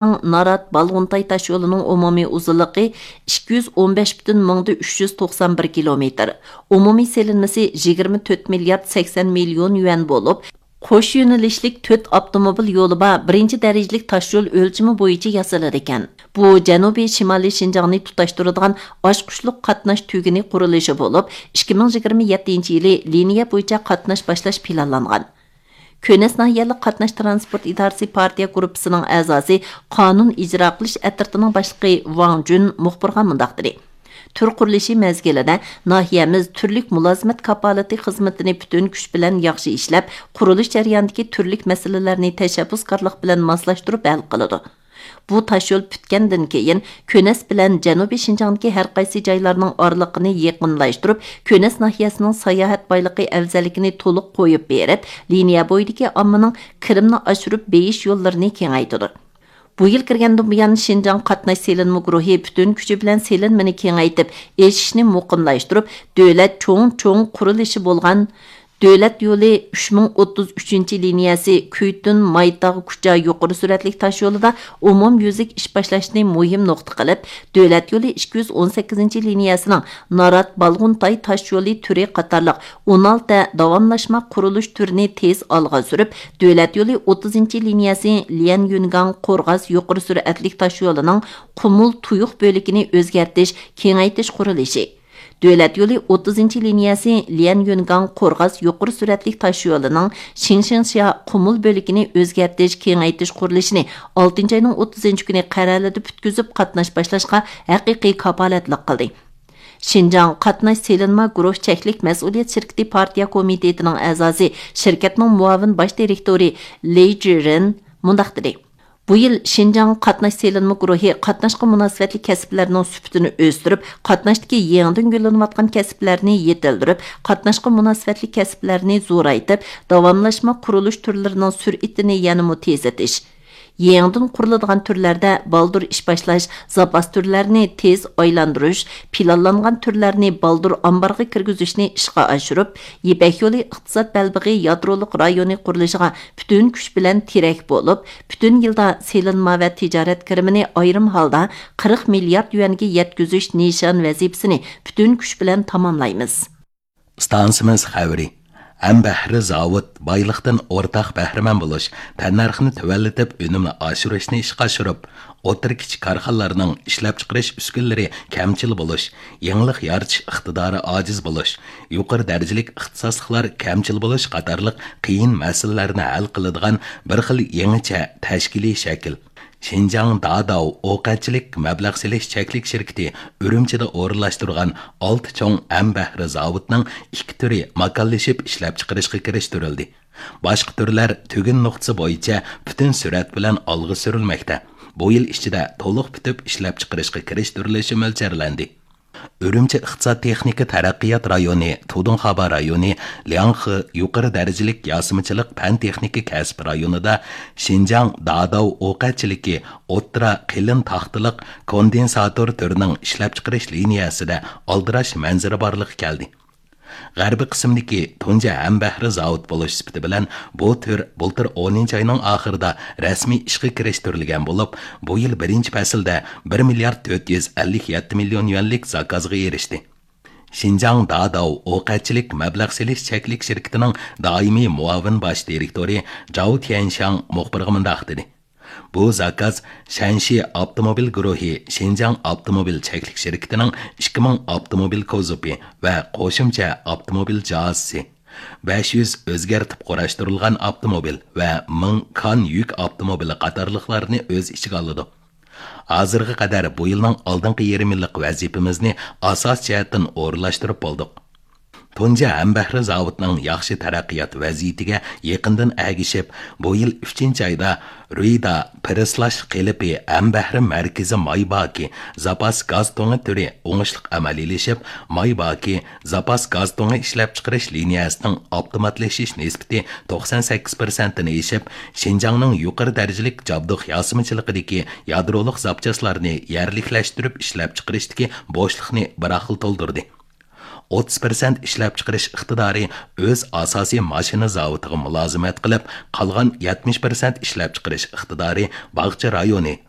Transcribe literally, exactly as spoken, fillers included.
نارات بالغۇنتاي تاشيولىنىڭ ئومۇمىي ئۇزۇنلۇقى ئىككى يۈز ئون بەش پۈتۈن مىڭدا ئۈچ يۈز توقسان بىر كىلومېتىر، ئومۇمىي سېلىنمىسى يىگىرمە تۆت مىليارد سەكسەن مىليون يۈەن بولۇپ، قوش يۆنىلىشلىك تۆت ئاپتوموبىل يولى بار بىرىنچى دەرىجىلىك تاشيول ئۆلچىمى بويىچە ياسىلىدىكەن. بۇ جەنۇبىي شىمالىي شىنجاڭنى تۇتاشتۇرىدىغان ئاچقۇچلۇق قاتناش تۈگۈنى قۇرۇلۇشى بولۇپ، ئىككى مىڭ يىگىرمە يەتتىنچى يىلى لىنىيە بويىچە قاتناش باشلاش پىلانلانغان. كۆنەس ناھىيەلىك قاتناش ترانسپورت ئىدارىسى پارتىيە گۇرۇپپىسىنىڭ ئەزاسى، قانۇن ئىجرا قىلىش ئەترىتىنىڭ باشلىقى ۋاڭ جۈن مۇخبىرغا مۇنداق دېدى: تۈر قۇرۇلۇشى مەزگىلىدە ناھىيەمىز تۈرلۈك مۇلازىمەت كاپالىتى خىزمىتىنى پۈتۈن كۈچ بىلەن ياخشى ئىشلەپ، قۇرۇلۇش جەريانىدىكى تۈرلۈك مەسىلىلەرنى تەشەببۇسكارلىق بىلەن ماسلاشتۇرۇپ ھەل قىلىدۇ. بۇ تاشيول پۈتكەندىن كېيىن، كۆنەس بىلەن جەنۇبىي شىنجاڭدىكى ھەر قايسى جايلارنىڭ ئارىلىقىنى يېقىنلاشتۇرۇپ، كۆنەس ناھىيەسىنىڭ ساياھەت بايلىقى ئەۋزەللىكىنى تولۇق قويۇپ بېرىپ، لىنىيە بويىدىكى ئاممىنىڭ كىرىمنى ئاشۇرۇپ بېيىش يوللىرىنى كېڭەيتىدۇ. بۇ يىل كىرگەندىن بۇيان، شىنجاڭ قاتناش سېلىنما گۇرۇھى پۈتۈن كۈچى بىلەن سېلىنمىنى كېڭەيتىپ، ئېشىشنى مۇقىملاشتۇرۇپ، دۆلەت چوڭ چوڭ قۇرۇلۇشى بولغان دۆلەت يولى ئۈچ مىڭ ئوتتۇز ئۈچىنچى لىنىيەسى كۈيتۈن مايتاغ كۇچا يۇقىرى سۈرئەتلىك تاشيولىدا ئومۇميۈزلۈك ئىش باشلاشنى مۇھىم نۇقتا قىلىپ، دۆلەت يولى ئىككى يۈز ئون سەككىزىنچى لىنىيەسىنىڭ نارات بالغۇنتاي تاشيولى تۈرى قاتارلىق ئون ئالتە داۋاملاشما قۇرۇلۇش تۈرىنى تېز ئالغا سۈرۈپ، دۆلەت يولى ئوتتۇزىنچى لىنىيەسى ليەنيۈنگاڭ قورغاس يۇقىرى سۈرئەتلىك تاشيولىنىڭ قۇمۇل تۇيۇق بۆلىكىنى ئۆزگەرتىش، كېڭەيتىش قۇرۇلۇشى، دۆلەت يولى ئوتتۇزىنچى لىنىيەسى ليەنيۈنگاڭ قورغاس يۇقىرى سۈرئەتلىك تاشيولىنىڭ شىڭشىڭشيا قۇمۇل بۆلىكىنى ئۆزگەرتىش، كېڭەيتىش قۇرۇلۇشىنى ئالتىنچى ئاينىڭ ئوتتۇزىنچى كۈنى قەرەلىدە پۈتكۈزۈپ، قاتناش باشلاشقا ھەقىقىي كاپالەتلىك قىلدى. شىنجاڭ قاتناش سېلىنما گۇرۇھ چەكلىك مەسئۇلىيەت شىركىتى پارتىيە كومىتېتىنىڭ ئەزاسى، شىركەتنىڭ مۇئاۋىن باش دىرېكتورى لېي جىرېن مۇنداق دېدى: بۇ يىل شىنجاڭ قاتناش سېلىنما گۇرۇھى قاتناشقا مۇناسىۋەتلىك كەسىپلەرنىڭ سۈپىتىنى ئۆستۈرۈپ، قاتناشتىكى يېڭىدىن گۈللىنىۋاتقان كەسىپلەرنى يېتىلدۈرۈپ، قاتناشقا مۇناسىۋەتلىك كەسىپلەرنى زورايتىپ، داۋاملاشما قۇرۇلۇش تۈرلىرىنىڭ سۈرئىتىنى يەنىمۇ تېزلىتىش، يېڭىدىن قۇرۇلىدىغان تۈرلەردە بالدۇر ئىش باشلاش، زاپاس تۈرلەرنى تېز ئايلاندۇرۇش، پىلانلانغان تۈرلەرنى بالدۇر ئامبارغا كىرگۈزۈشنى ئىشقا ئاشۇرۇپ، يىپەك يولى ئىقتىساد بەلبېغى يادرولۇق رايونى قۇرۇلۇشىغا پۈتۈن كۈچ بىلەن تىرەك بولۇپ، پۈتۈن يىلدا سېلىنما ۋە تىجارەت كىرىمىنى ئايرىم ھالدا قىرىق مىليارد يۈەنگە يەتكۈزۈش نىشان ۋەزىپىسىنى پۈتۈن كۈچ بىلەن تاماملايمىز. ئىستانسىمىز خەۋىرى. ئەمبەھرە زاۋۇت بايلىقتىن ئورتاق بەھرىمەن بولۇش، تەننەرخنى تۆۋەنلىتىپ، ئۈنۈمنى ئاشۇرۇشنى ئىشقا ئاشۇرۇپ، ئوتتۇرا، كىچىك كارخانىلارنىڭ ئىشلەپچىقىرىش ئۈسكۈنىلىرى كەمچىل بولۇش، يېڭىلىق يارىتىش ئىقتىدارى ئاجىز بولۇش، يۇقىرى دەرىجىلىك ئىختىساسلىقلار كەمچىل بولۇش قاتارلىق قىيىن مەسىلىلەرنى ھەل قىلىدىغان بىر خىل يېڭىچە تەشكىلىي شەكىل. شىنجاڭ داداۋ ئوقەتچىلىك مەبلەغ سېلىش چەكلىك شىركىتى ئۈرۈمچىدە ئورۇنلاشتۇرغان ئالتە چوڭ ئەمبەھرە زاۋۇتنىڭ ئىككى تۈرى ماكانلىشىپ ئىشلەپچىقىرىشقا كىرىشتۈرۈلدى. باشقا تۈرلەر تۈگۈن نۇقتىسى بويىچە پۈتۈن سۈرئەت بىلەن ئالغا سۈرۈلمەكتە. بۇ يىل ئىچىدە تولۇق پۈتۈپ ئىشلەپچىقىرىشقا كىرىشتۈرۈلۈشى مۆلچەرلەندى. ئۈرۈمچى ئىقتىساد تېخنىكا تەرەققىيات رايونى، تۇدۇڭخابا رايونى، لياڭخې يۇقىرى دەرىجىلىك ياسىمىچىلىق پەن تېخنىكا كەسىپ رايونىدا شىنجاڭ داداۋ ئوقەتچىلىكى ئوتتۇرا قېلىن تاختىلىق كوندېنساتور تۈرىنىڭ ئىشلەپچىقىرىش لىنىيەسىدە ئالدىراش مەنزىرە بارلىققا كەلدى. غەربىي قىسىمدىكى تۇنجى ھەمبەھرە زاۋۇت بولۇش سۈپىتى بىلەن بۇ تۈر بۇلتۇر ئونىنچى ئاينىڭ ئاخىرىدا رەسمىي ئىشقا كىرىشتۈرۈلگەن بولۇپ، بۇ يىل بىرىنچى پەسىلدە بىر مىليارد تۆت يۈز ئەللىك يەتتە مىليون يۈەنلىك زاكازغا ئېرىشتى. شىنجاڭ داداۋ ئوقەتچىلىك مەبلەغ سېلىش چەكلىك شىركىتىنىڭ دائىمىي مۇئاۋىن باش دىرېكتورى جاۋ تيەنشياڭ مۇخبىرغا مۇنداق دېدى: بۇ زاكاز شەنشى ئاپتوموبىل گۇرۇھى شىنجاڭ ئاپتوموبىل چەكلىك شىركىتىنىڭ ئىككى مىڭ ئاپتوموبىل كوزۇپى ۋە قوشۇمچە ئاپتوموبىل جاھازىسى، بەش يۈز ئۆزگەرتىپ قۇراشتۇرۇلغان ئاپتوموبىل ۋە مىڭ كان يۈك ئاپتوموبىلى قاتارلىقلارنى ئۆز ئىچىگە ئالىدۇ. ھازىرغا قەدەر بۇ يىلنىڭ ئالدىنقى يېرىم يىللىق ۋەزىپىمىزنى ئاساسىي جەھەتتىن ئورۇنلاشتۇرۇپ بولدۇق. تۇنجى ھەمبەھرە زاۋۇتنىڭ ياخشى تەرەققىيات ۋەزىيىتىگە يېقىندىن ئەگىشىپ، بۇ يىل ئۈچىنچى ئايدا رۇيدا پىرېسلاش قېلىپى ھەمبەھرە مەركىزى مايباكى زاپاس گاز تۇڭى تۈرى ئوڭۇشلۇق ئەمەلىيلىشىپ، مايباكى زاپاس گاز تۇڭى ئىشلەپچىقىرىش لىنىيەسىنىڭ ئاپتوماتلىشىش نىسبىتى توقسان سەككىز پىرسەنتتىن ئېشىپ، شىنجاڭنىڭ يۇقىرى دەرىجىلىك جابدۇق ياسىمىچىلىقىدىكى يادرولۇق زاپچاسلارنى يەرلىكلەشتۈرۈپ ئىشلەپچىقىرىشتىكى بوشلۇقنى بىر خىل تولدۇردى. ئوتتۇز پىرسەنت ئىشلەپچىقىرىش ئىقتىدارى ئۆز ئاساسىي ماشىنا زاۋۇتىغا مۇلازىمەت قىلىپ، قالغان يەتمىش پىرسەنت ئىشلەپچىقىرىش ئىقتىدارى باغچە رايونى